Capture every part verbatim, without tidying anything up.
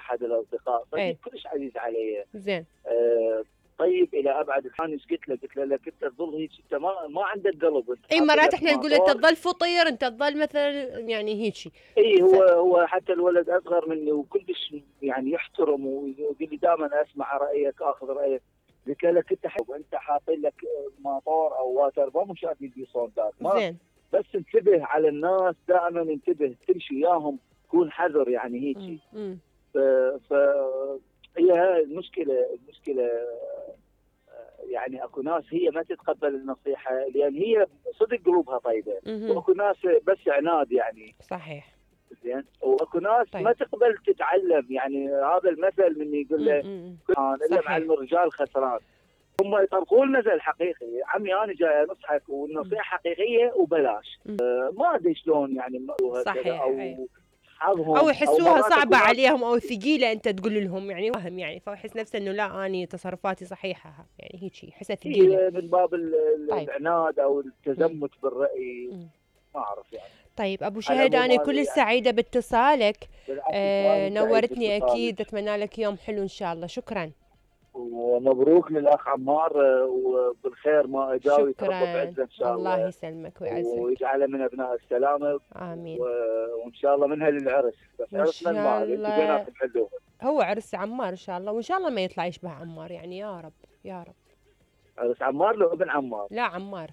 احد الاصدقاء صديق ايه كلش عزيز علي. زين. آه طيب الى ابعد الحان. ايش قلت له؟ قلت له لك انت تظل هيك، انت ما ما عندك قلب. اي مرات احنا نقول انت تظل فطير، انت تظل مثلا يعني هيك. اي هو ف... هو حتى الولد اصغر مني وكلش يعني يحترم ويقول لي دائما اسمع رايك اخذ رايك. قلت له لك انت حب. انت حاطين لك ماطور او واتر بام وشايف يدي صوندات. زين. بس انتبه على الناس دائما، انتبه تمشي وياهم كون حذر يعني هيك. ف... ف هي هاي المشكله. المشكله يعني اكو ناس هي ما تتقبل النصيحه لان هي صدق قلوبها طيبه، واكو ناس بس عناد يعني. صحيح. زين. واكو ناس طيب. ما تقبل تتعلم، يعني هذا المثل من يقول له الا معلم الرجال خسران. هم يطبقون المثل حقيقي. عمي انا جاي انصحك والنصيحه حقيقيه وبلاش. آه ما ادري شلون يعني صحيح او أي. حظهم او يحسوها أو صعبه عليهم او ثقيله انت تقول لهم يعني وهم يعني، فيحس نفسه انه لا اني تصرفاتي صحيحه يعني هيك يحسها ثقيله من باب العناد طيب. او التزمت م. بالراي م. ما اعرف يعني. طيب ابو شهد انا كل يعني. سعيده باتصالك. آه نورتني اكيد. اتمنى لك يوم حلو ان شاء الله. شكرا ومبروك للاخ عمار وبالخير ما اجاوي يتربى بعزه ان شاء الله. الله يسلمك ويعزك ويجعله من ابناء السلامه. امين. وان شاء الله منها للعرس. بس عرسنا المال انتم بيناتكم حلوها. هو عرس عمار ان شاء الله، وان شاء الله ما يطلع يشبه عمار يعني يا رب يا رب. عرس عمار لو ابن عمار؟ لا عمار.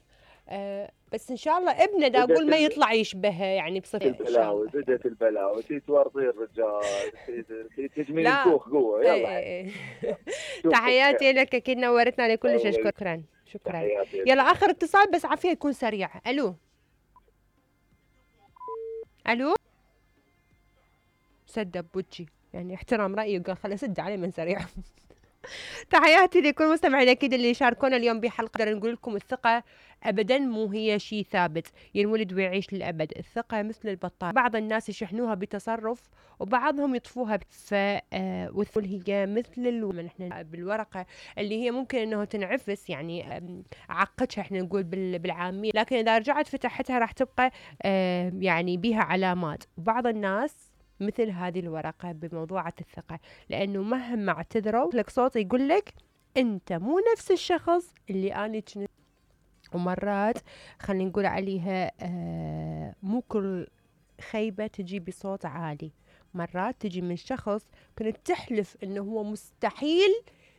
آه بس ان شاء الله ابنه دا اقول ما يطلع يشبهه يعني بصفه البلاوي. بدت البلاوي تتورطي الرجال تجميل الكوخ قوه. يلا تحياتي لك اكيد نورتنا لكل شيء. شكرا شكرا. يلا اخر اتصال بس عافيه يكون سريع. الو الو سد بوجهي يعني احترام رايي وقال خلي اسد عليه من سريع. تحياتي لكل مستمعين اكيد اللي شاركونا اليوم بحلقه. نقدر نقول لكم الثقه ابدا مو هي شيء ثابت ينولد ويعيش للابد. الثقه مثل البطاريه، بعض الناس يشحنوها بتصرف وبعضهم يطفوها. ف والثقه هي مثل ال... احنا بالورقه اللي هي ممكن انه تنعفس يعني عقدها احنا نقول بالعاميه، لكن اذا رجعت فتحتها راح تبقى يعني بها علامات. بعض الناس مثل هذه الورقة بموضوعة الثقة، لأنه مهما اعتذروا لك صوت يقول لك أنت مو نفس الشخص اللي أنا كنت. ومرات خلينا نقول عليها آه مو كل خيبة تجي بصوت عالي، مرات تجي من شخص كنت تحلف أنه هو مستحيل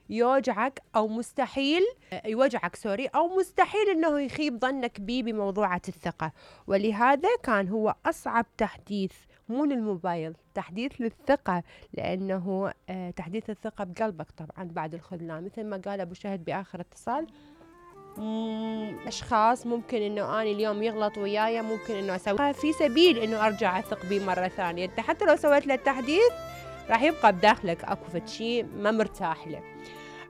يوجعك أو مستحيل يوجعك سوري أو مستحيل أنه يخيب ظنك بيه بموضوعة الثقة. ولهذا كان هو أصعب تحديث مو للموبايل، تحديث للثقة، لأنه آه تحديث الثقة بقلبك طبعا بعد الخذلان. مثل ما قال أبو شهد بآخر اتصال، أشخاص ممكن أنه أنا اليوم يغلط وياي ممكن أنه أسوي في سبيل أنه أرجع أثق بيه مرة ثانية. أنت حتى لو سويت له التحديث راح يبقى بداخلك أكو فشي ما مرتاح له.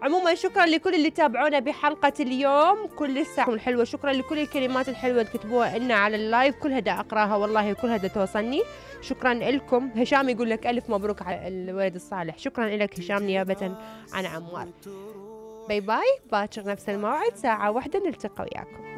عموما شكرا لكل اللي تابعونا بحلقة اليوم كل الساعة الحلوة. شكرا لكل الكلمات الحلوة اللي كتبوها لنا على اللايف، كلها دا أقراها والله وكلها دا توصلني. شكرا لكم. هشام يقول لك ألف مبروك على الولد الصالح. شكرا لك هشام نيابة عن عمار. باي باي. باكر نفس الموعد ساعة واحدة نلتقى وياكم.